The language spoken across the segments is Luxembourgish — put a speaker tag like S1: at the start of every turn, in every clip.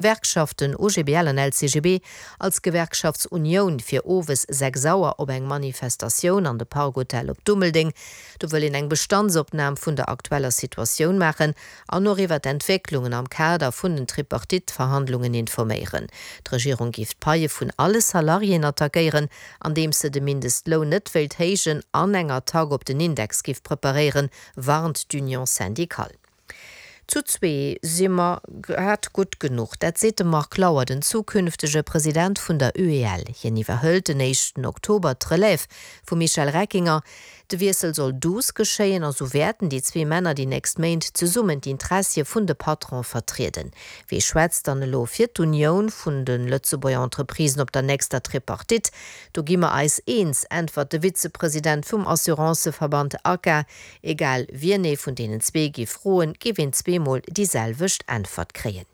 S1: Gewerkschaften OGBL an LCGB als Gewerkschaftsunioun fir owes 6 Auer op eng Manifestatioun an de Park Hotel op Dummeldeng. Do wëll een eng Bestandsopnam vun der aktueller Situatioun maachen an och iwwer d'Entwécklungen am Kader vun den Tripartite-Verhandlungen informéieren. D'Regierung géif d'Paie vun alle Salariéen attackéieren, andeems se de Mindestloun net wéilt héijen an eng Attack op den Index géif preparéieren, warnt d'Union syndicale. Zu zwee si mer grad gutt genuch. Dat seet de Marc Lauer, den zukünftege President vun der UEL. Hien iwwerhëlt den éischten Oktober d'Relève vum Michel Reckinger. De Wiessel soll douce geschéien a sou wäerten déi zwee Männer déi nächst Méint zesummen d'Intressie vun de Patrone vertrieden. Wee schwätzt dann elo fir d'Unioun vun de Lëtzebuerger Entreprisen op der nächster Tripartite? Do gi mer eis eens, äntwert de Vizepresident vum Assuranceverband ACA, Egal wien ee vun deenen zwee géif froen, géif een zweemol déi selwecht Äntwert kréien.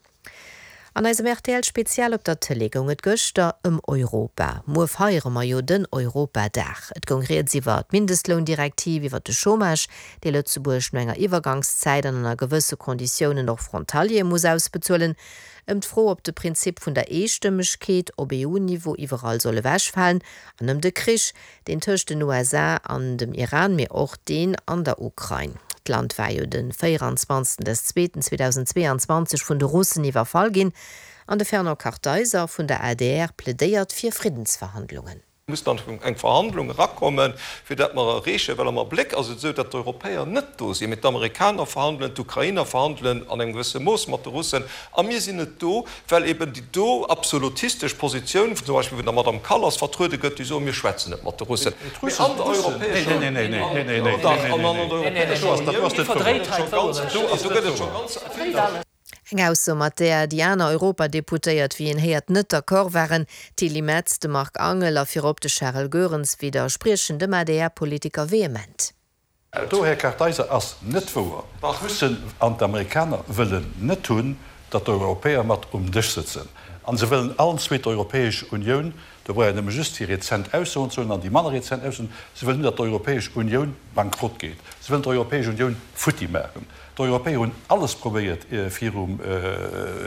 S1: An eisem rtl Spezial op der Tëlee goung et gëschter ëm Europa. Muer feiere mer jo den Europadag. Et goung rieds iwwer d'Mindestloundirektiv, iwwer de Chômage, dee Lëtzebuerg no enger Iwwergangszäit an ënner gewësse Konditiounen och Frontaliere muss ausbezuelen, ëm d'Fro, ob de Prinzip vun der Eestëmmegkeet op EU-Niveau iwwerall soll ewechfalen an ëm de Krich, Deen tëscht den USA an dem Iran, mee och deen an der Ukrain. D'Land war jo de 24 des Zweeten 2022 vun de Russen iwwerfall ginn. An de Fernand Kartheiser vun der adr plädéiert fir Friddensverhandlungen.
S2: Muss dann eng Verhandlung erakommen, fir dat mer erreechen, well am Abléck ass et esou, datt d'Europäer net do sinn, mee d'Amerikaner verhandelen, d'Ukrainer verhandelen an engem gewësse Mooss mat de Russen a mir sinn net do, well eben déi do absolutistesch Positioun, zum Beispill vun der Madame Kallas vertruede gëtt, déi soen, mir schwätzen net mat de Russen, mee an der Europäescher Unioun, do gëtt et scho ganz vill.
S1: Eng Ausso, mat där déi aner Europadeputéiert, wéi een héiert, net d'accord waren. D'Tilly Metz, de Marc Angel a virop de Charel Goerens widderspriechen dem ADR-Politiker vehement.
S3: Dat do, Här Kartheiser, ass net wouer. D'Russen an d'Amerikaner wëllen net hunn, datt d'Europäer mat um Dësch sëtzen. A se wëllen allen zwee d'Europäesch Unioun, do brauch een nëmme just déi rezent Aussoen ze huelen an déi manner rezent Aussoen, se wëllen hunn, datt d'Europäesch Unioun bankrott geet. Se wëllen d'Europäesch Unioun futti maachen. D'Europäer hunn alles probéiert virum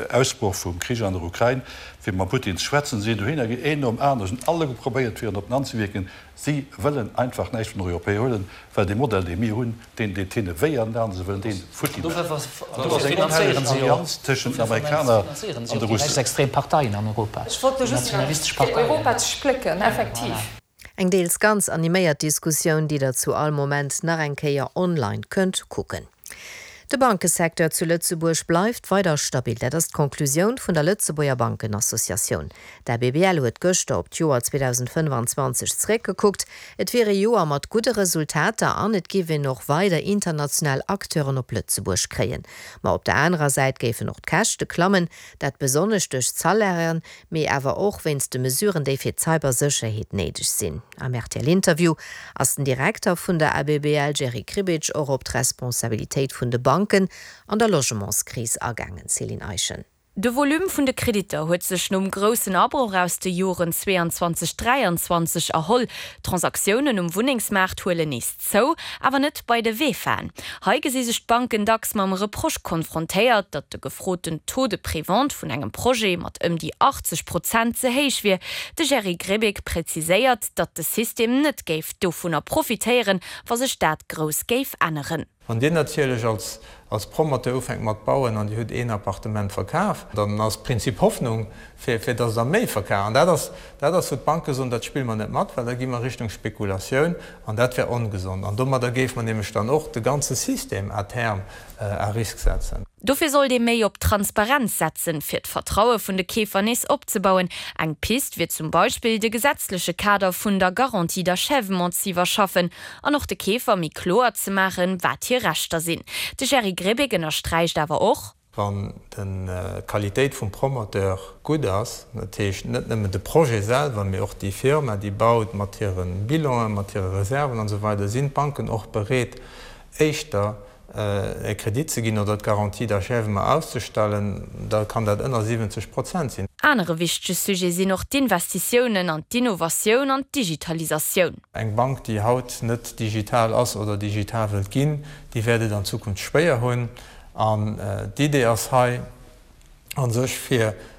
S3: Ausbroch vum Krich an der Ukrain, fir mam Putin ze schwätzen. Se sinn dohinner gaangen, een nom aneren, se hunn alleguer probéiert, fir en op den An ze wierken. Si wëllen einfach näischt vun den Europäer huelen, well dee Modell, dee mir hunn, deen deet hinne wéi an den Aen. Se wëllen dee futti maachen. An do ass eng onhelleg Allianz tëschent den Amerikaner an de Russen.
S1: Eng deels ganz animéiert Diskussioun, déi der zu all Moment nach eng Kéier online kënnt kucken. De Bankesecteur zu Lëtzebuerg bleift weider stabil. Dat ass d'Conclusioun vun der Lëtzebuerger Bankenassociatioun. D'ABBL huet gëschter op d'Joer 2025 zeréckgekuckt. Et wier ee Joer mat gudde Resultater an et géif een och weider international Acteuren op Lëtzebuerg kréien. Ma op der anerer Säit géifen och d'Käschte klammen, dat besonnesch duerch d'Salairen, mee awer och wéinst de Mesuren, déi fir d'Cybersécherheet néideg sinn. Am RTL-Interview ass den Direkter vun der ABBL Jerry Kribic och op d'Responsabilitéit vun de Banken an der Logementskris agaangen. Céline Eischen.
S4: De Volume vun de Kreditter huet sech nom groussen Abroch aus de Joren 22, 23 erholl. D'Transaktiounen um Wunnengsmaart huelen nees Zou, awer net bei de VEFAen. Hei gesi sech d'Banken dacks mam Reproche konfrontéiert, datt de gefroten Taux de prévente vun engem Projet mat ëm déi 80 Prozent ze héich wier. De Jerry Grbic präziséiert, datt de System net géif dovunner profitéieren, wa sech dat grouss géif änneren.
S5: Wann Dir natierlech als als Promoteur ufänkt mat bauen an Dir hutt een Appartement verkaf, dann ass d'Prinzip Hoffnung, fir fir dass Der méi verkaaft. An dat ass dat ass wou d'Banke soen, dat spille mer net mat, well da gi mer Richtung Spekulatioun an dat wär ongesond. An domadder géife mer nämlech dann och de ganze System à terme à risque setzen.
S4: Dofir sollt ee méi op Transparenz setzen, fir d'Vertraue vun de Keefer nees opzebauen. Eng Pist wier zum Beispill, de gesetzleche Kader vun der Garantie d'achèvement z'iwwerschaffen an och de Keefer méi kloer ze maachen, wat hir Rechter sinn. De Jerry Grebeg ënnersträicht awer och.
S5: Wann d'Qualitéit vum Promoteur gutt ass, dat heescht net nëmmen de Projet selwer, mee och déi Firma, déi baut, mat hire Bilanen, mat hire Reserven an esou weider, sinn d'Banken och bereet, éischter e Kredit ze ginn oder d'Garantie d'achèvement auszestellen, da kann dat ënner 70 Prozent sinn.
S4: Anere wichtege Sujet sinn och d'Investitiounen an d'Innovatioun an d'Digitalisatioun.
S5: Eng Bank, déi haut net digital ass oder digital wëllt ginn, déi wäert et an Zukunft schwéier hunn. An d'Idee ass hei. a sech fir.